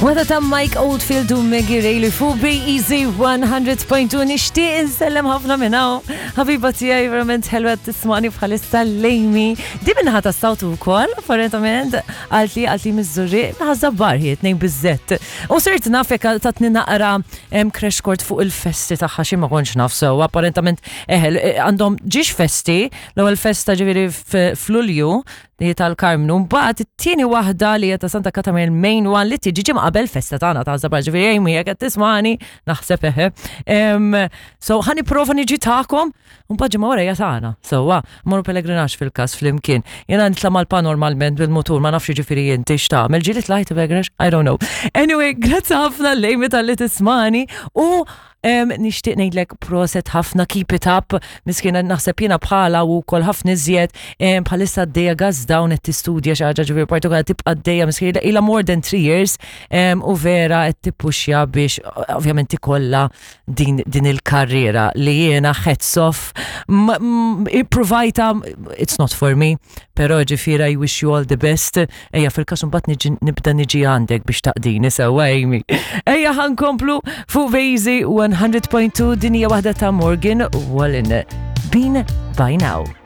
Wada ta' Mike Oldfield u Maggie Rayleigh fuq Easy 100.2 nixtieq insellem ħafna minn hawn. Ħabiba tiegħi verament ħelwa tismani bħalissa lejmi. Di minnaħa ta' sawtu wkoll, apparentament qaltli qaltli miż-Żurrieq minnaħa Żabbar hi tnejn biżżett. U sirt naf hekk tatni naqra crash court fuq il-festi tagħha xi ma kontx naf sew. Apparentament eħel għandhom ġiex festi, l-ewwel festa ġifieri f'Lulju li hi tal-Karmnu. Mbagħad it-tieni waħda li hija ta' Santa Katarina il-main one li tiġi ġimgħa qabel festa tagħna ta' Żabbar ġifieri Amy jekk qed tismani naħseb eħe. So ħa nipprova niġi tagħkom u mbagħad ġimgħa wara hija tagħna. Sewwa, mmorru pellegrinaġġ fil-każ flimkien. Jiena nitla' mal-pa normalment bil-mutur ma nafx jiġifieri inti x'tagħmel. Ġieli tlajt pellegrinaġġ? I don't know. Anyway, grazzi ħafna lejmi talli tismani u Nixtieq ngħidlek proset ħafna keep it up, miskina naħseb jiena bħala u wkoll ħafna iżjed bħalissa għaddejja gas down qed tistudja xi ħaġa ġifieri partikolari tibqa' għaddejja miskina ilha more than 3 years u vera qed tippuxja biex ovvjament ikollha din, din il-karriera li jiena hats off ippruvajta it's not for me Però ġifieri I wish you all the best. Ejja fil-każ imbagħad niġi nibda niġi għandek biex taqdini sewwa Amy. Ejja ħankomplu fuq Vejzi 100.2 din hija waħda ta' Morgan Wallen. Been by now.